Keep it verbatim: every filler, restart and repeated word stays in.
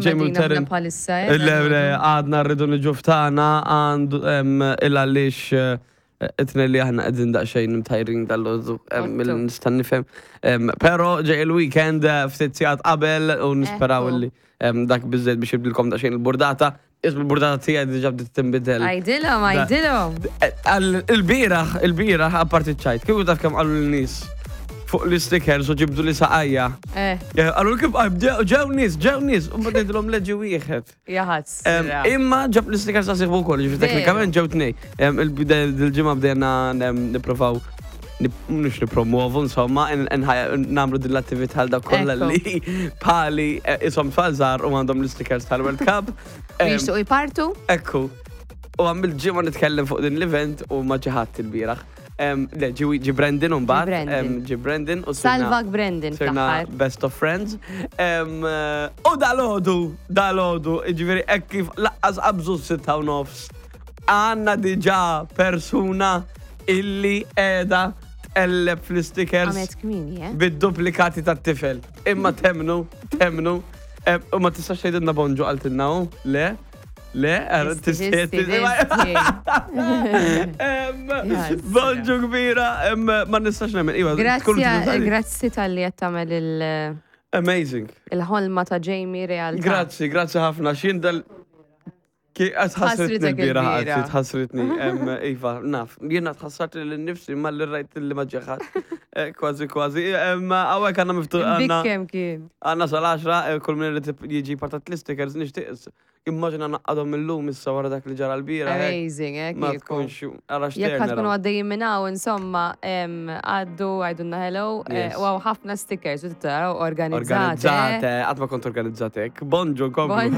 Jamie u Qegħdin Taryn. aħna bħalissa, eh, Le, le, għadna rridu niġu ftana għandu il għaliex it-tnejn li aħna qegħdin daqsxejn imtajrin dal-għodu Otto. Nista' nifhem. Em, Però ġej il-weekend eh, ftit sigħat qabel u nisperaw Ekku. li em, dak biżżejjed biex jibdilkom daqsxejn il-burdata. Ismu il-burdata tiegħi diġà bdiet tinbidel. Għajdilhom, għajdilhom. Għal- Il-bieraħ, il-bieraħ, apparti ċajt, kieku taf kemm qalu l-nies fuq l-stickers u ġibdu li saqajja. Eh, Qalu kif ġew nies, ġew nies, u mbagħad ngħidilhom leġi wieħed. Jaħas. Em, Imma ġab l-stickers ta' sieħbu wkoll, ġifieri Veru. teknikament ġew tnej. Em, Il-ġimgħa bdejna em, nipprovaw nip- mhux nipromuovu, insomma, nagħmlu din l-attività għal dak kollha Ekku. li pali eh, isom tfal żgħar u għandhom l-stickers tal-World Cup. Em, Jixtuq jipartu? Ekku. U għamil ġimgħa nitkellem fuq din l-event u ma ġiħat il-bieraħ. Em, Le, ġi ġi Brandon u mbagħad. Brandon. em, Ġi Brandon u sirna- Salvak Brandon Sirna fl-aħħar. best of friends. Em, eh, U dal-ħodu, dal-ħodu, ġifieri, hekk kif lanqas qabżu sitta u nofs. Għandna diġà persuna illi qiegħda tqelleb fl-stickers Għamet kmini, eh? bid-duplikati tat-tifel. Imma temnu, temnu. Em, U ma tistax tgħidilna bonġu qaltilna hu? Le? Le? Er, Tisti, tisti- tisti, tisti. Em, Jasra. Bonġu kbira, em, ma nistax nemmen. Iva, tkun Grazzi, grazzi tal-li qed tagħmel il- Amazing. il-ħolma ta' Jamie realtà. Grazzi, grazzi ħafna. Xin dal. Ki tħassritni Tħassritek l-bieraħ, il-bieraħ. għazzi, tħassritni. Em, Iva, naf, jiena tħassart li nifsi ma li rajt li maġġeħat. Kważi, kważi. Hawnhekk għandna miftuħ. Għandna Bikkem kien. għandna sal-għaxra, eh, kull min irid jiġi partat l-stickers, nixtieq. Immaġina naqadhom illum issa wara dak li ġara l-bieraħ. Hekk. Amazing, eh? Ma kieku. tkunx, għara Jekk ħa tkunu xterna. għaddejjin minn hawn, insomma, em, għaddu, għajdunna hello, eh, Yes. u hawn ħafna stickers, u taraw organizzate. Organizzate, għad ma kont organizzatek. Bonġu, komplu. Bonġu.